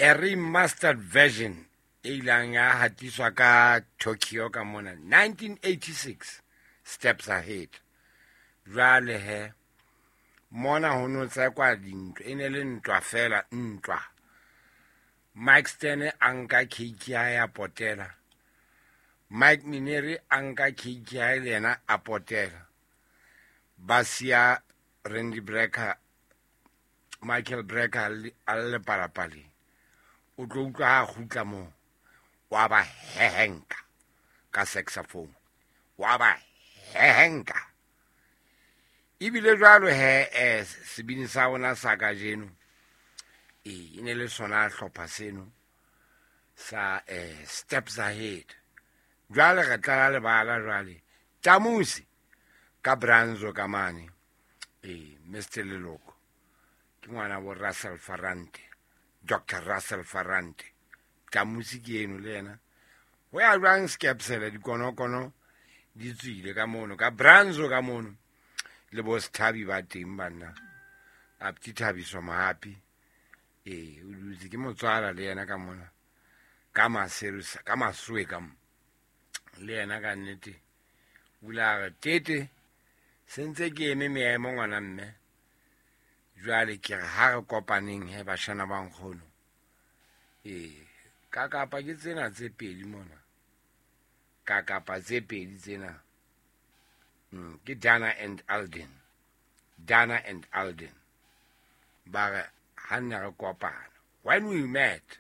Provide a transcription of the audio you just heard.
A remastered version e ilang ya hatiswa ka Tokyo ka mona 1986, Steps Ahead. Jwale he mona ho no tsekwa dintwa, e ne le ntwa fela, ntwa. Mike Stern a nka cake ya hae a potela, Mike Mineri a nka cake ya hae le yena a potela, ba siya Randy Brecker, Michael Brecker a le lepalapaleng. O tlo utlwa ha a kgutla moo, wa ba hehenka ka saxophone, wa ba hehenka. Ebile jwalo he, sebini sa rona sa kajeno, e ne le sona hlopha seno sa Steps Ahead. Jwale re tlala lebala jwale Tamusi ka Branzo ka mane, Mr Leloko ke ngwana bo Russell Farante, Dr Russell Farante. Tamusi ke eno le yena. Ho ya jwang skepsele dikonokono di tswile ka mono ka Branzo ka mono, le bo Sethabi ba teng banna, Apti Thabiso Mohapi, o dutse ke motswala le yena ka mona ka Maseru ka Masoe ka mo le yena ka nnete. O ile a re tete sentse ke eme meemo ngwana mme, jwale ke re ha re kopaneng he bashana ba nkgono. Ka kapa ke tsena tse pedi mona, ka kapa tse pedi tsena. Ke Dana and Alden, Dana and Alden ba re ha nne re kopana, when we met.